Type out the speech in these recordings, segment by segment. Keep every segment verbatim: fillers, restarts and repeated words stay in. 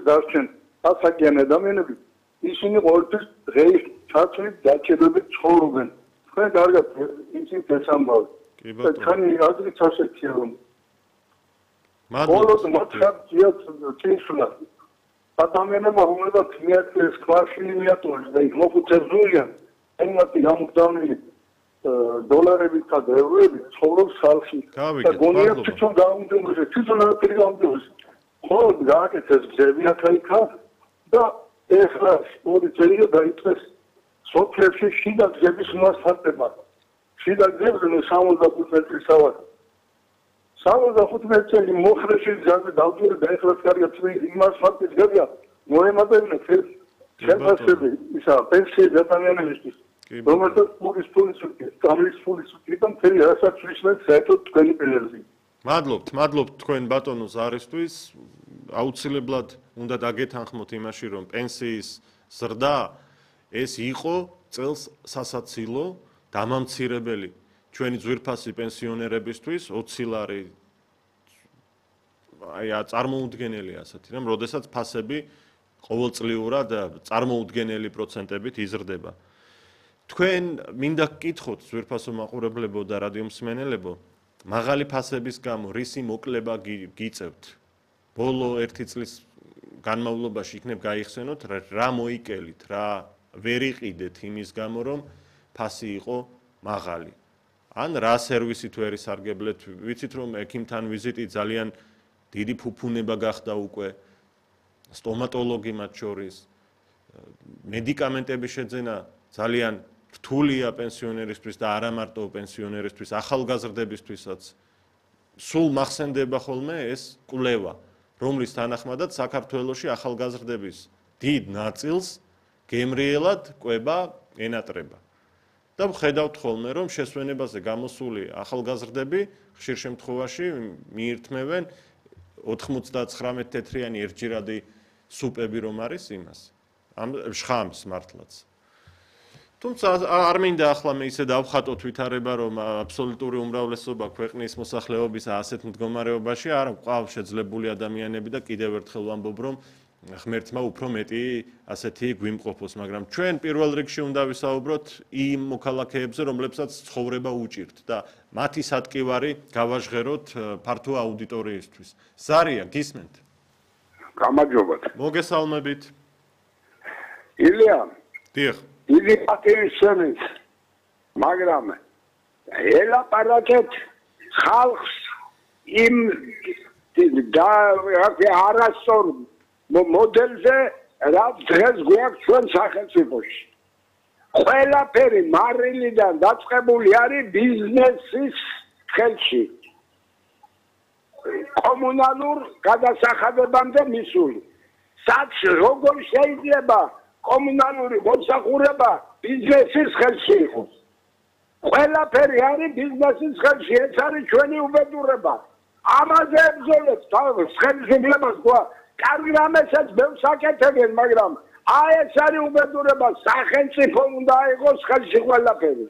დარჩენ ასაკიანი ადამიანები, ისინი ყოველთვის დღეის ჩათვლით დაჭერებით ცხოვრობენ. თქვენ კარგად იცით ეს ამბავი. თქვენი აზრით ასეთია რომ ბოლოს მოწაფია წინსვლა. ადამიანებმა უმეტეს მიაწეს კვარშილი მიატოვეს და იქ მოხუცებულიან ემმათი გამოგდავნილი დოლარებით და ევროებით ცხოვრობს ხალხი. და გონია თვითონ დაუნდომრეს, თვითონ აფერი დაუნდომრეს. ხოლო გააკეთეს გზები აქა-იქა და ეხლა ორი წელია დაიწყეს სოფლებში შიდა გზების მასშტაბება. შიდა გზებზე სამოცდახუთ მეტრის ავად. სამოცდახუთ მეტრი მოხრეში გზაზე დავდური და ეხლა კარგად იმას ფაქტიც გებია მოემატებინე ხელფასები ისა პენსიები ადამიანებისთვის. რომელსაც პურის ფულის უკეთ, გამლის ფულის უკეთიდან მთელი რასაც ვისმენთ საერთოდ თქვენი პილერზი. მადლობთ, მადლობთ თქვენ ბატონო ზარისთვის. აუცილებლად უნდა დაგეთანხმოთ იმაში, რომ პენსიის ზრდა ეს იყო წელს სასაცილო დამამცირებელი ჩვენი ძვირფასი პენსიონერებისთვის ოცი ლარი აი წარმოუდგენელია ასეთი რომ როდესაც ფასები ყოველწლიურად წარმოუდგენელი პროცენტებით იზრდება. თქვენ მინდა გკითხოთ ძვირფასო მაყურებლებო და რადიომსმენელებო, მაღალი ფასების გამო რისი მოკლება გიწევთ? ბოლო ერთი წლის განმავლობაში იქნებ გაიხსენოთ რა მოიკელით, რა ვერ იყიდეთ იმის გამო რომ ფასი იყო მაღალი. ან რა სერვისით ვერ ისარგებლეთ, ვიცით რომ ექიმთან ვიზიტი ძალიან დიდი ფუფუნება გახდა უკვე, სტომატოლოგი მათ შორის, მედიკამენტების შეძენა ძალიან რთულია პენსიონერისთვის და არა მარტო პენსიონერისთვის, ახალგაზრდებისთვისაც. სულ მახსენდება ხოლმე ეს კვლევა, რომლის თანახმადაც საქართველოში ახალგაზრდების დიდ ნაწილს გემრიელად კვება ენატრება. და ვხედავთ ხოლმე, რომ შესვენებაზე გამოსული ახალგაზრდები ხშირ შემთხვევაში მიირთმევენ ოთხმოცდაცხრამეტ თეთრიანი ერთჯერადი სუპები რომ არის იმას. ამ შხამს მართლაც. თუმცა არ მინდა ახლა მე ისე დავხატოთ ვითარება, რომ აბსოლუტური უმრავლესობა ქვეყნის მოსახლეობის ასეთ მდგომარეობაში არ ყავს შეძლებული ადამიანები და კიდევ ერთხელ ვამბობ, რომ ღმერთმა უფრო მეტი ასეთი გვიმყოფოს, მაგრამ ჩვენ პირველ რიგში უნდა ვისაუბროთ იმ მოქალაქეებზე, რომლებსაც ცხოვრება უჭირთ და მათი სატკივარი გავაჟღეროთ ფართო აუდიტორიისთვის. ზარია, გისმენთ? გამარჯობათ. მოგესალმებით. ილია. დიახ. დიდი პატივისცემით, მაგრამ ელაპარაკეთ ხალხს იმ და არასწორ მოდელზე, რაც დღეს გვაქვს ჩვენ სახელმწიფოში. ყველაფერი მარილიდან დაწყებული არის ბიზნესის ხელში. კომუნალურ გადასახადებამდე მისული. სად როგორ შეიძლება კომუნალური მოსახურება ბიზნესის ხელში იყოს? ყველაფერი არის ბიზნესის ხელში, ეს არის ჩვენი უბედურება. ამაზე ებრძოლებთ ხელისუფლებას თქვა. კარგი რამესაც ბევრს აკეთებენ, მაგრამ აი ეს არის უბედურება, სახელმწიფო უნდა იყოს ხელში ყველაფერი.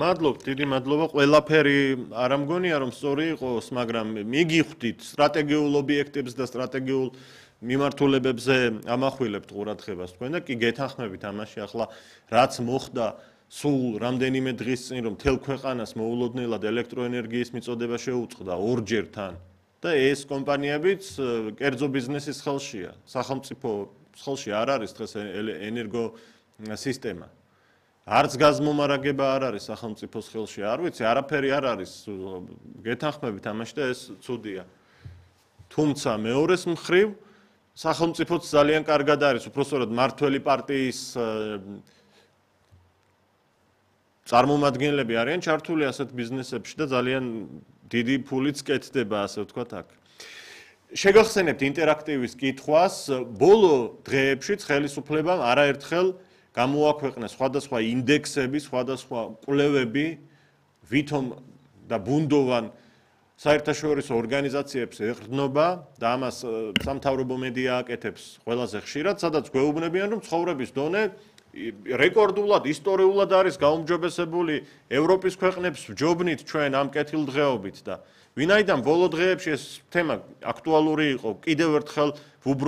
მადლობთ, დიდი მადლობა. ყველაფერი არ ამგონია რომ სწორი იყოს, მაგრამ მიგიხვდით სტრატეგიულ ობიექტებს და სტრატეგიულ მიმართულებებზე ამახვილებთ ყურადღებას თქვენ და კი გეთანხმებით ამაში ახლა რაც მოხდა სულ რამდენიმე დღის წინ რომ მთელ ქვეყანას მოულოდნელად ელექტროენერგიის მიწოდება შეუწყდა ორჯერ თან და ეს კომპანიებიც კერძო ბიზნესის ხელშია. სახელმწიფო ხელში არ არის დღეს ენერგო სისტემა. არც გაზმომარაგება არ არის სახელმწიფოს ხელში. არ ვიცი, არაფერი არ არის. გეთანხმებით ამაში და ეს ცუდია. თუმცა მეორეს მხრივ სახელმწიფოც ძალიან კარგად არის, უпростоრად მართველი პარტიის წარმომადგენლები არიან ჩართული ასეთ ბიზნესებში და ძალიან დიდი ფულიც კეთდება, ასე ვთქვათ აქ. შეგახსენებთ ინტერაქტივის კითხვას, ბოლო დღეებშიც ხელისუფლებამ არაერთხელ გამოაქვეყნა სხვადასხვა ინდექსები, სხვადასხვა კვლევები, ვითომ და ბუნდოვან საერთაშორისო ორგანიზაციებს ეყრდნობა და ამას სამთავრობო მედია აკეთებს ყველაზე ხშირად, სადაც გვეუბნებიან, რომ ცხოვრების დონე რეკორდულად, ისტორიულად არის გაუმჯობესებული ევროპის ქვეყნებს ვჯობნით ჩვენ ამ კეთილდღეობით და ვინაიდან ბოლო დღეებში ეს თემა აქტუალური იყო, კიდევ ერთხელ